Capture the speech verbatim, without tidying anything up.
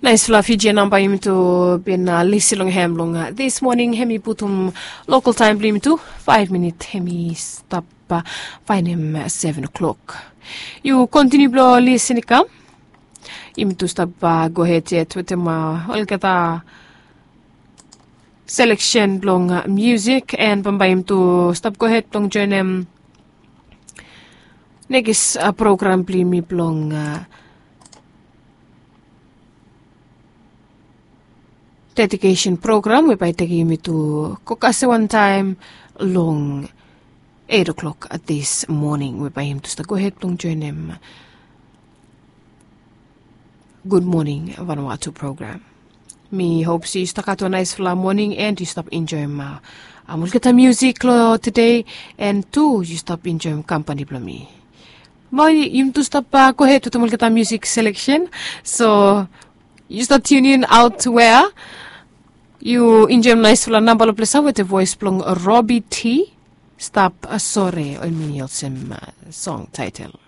Naisfala fiji namba yumi tu bin lisi long hem long dis moning hem i putum lokal taim blong yumi tu. Faif minit hem i stap fainem seven o'clock. Yu kontiniu blong lisin i kam. Yumi tu stap gohed yet wetem olgeta seleksen blong musik en bambae yumi tu stap gohed blong joinim nekis program blong yumi blong dedikesen program we bae i tekim yumi tu go kase wantaim long eit o'klok dis moning we bae yumi tu stap gohed blong joinim. Gud moning Vanuatu program. Mi hop se yu stap gat wan naisfala moning en yu stap enjoim olgeta musik long tede, en tu yu stap enjoim kampani blong mi. Mo yumi tu stap gohed wetem olgeta musik seleksen. So yu stap tiunin aut wea yu enjoim naisfala namba long plesa wetem voes blong Robi T. Stap sore ol mi olsem song taitel.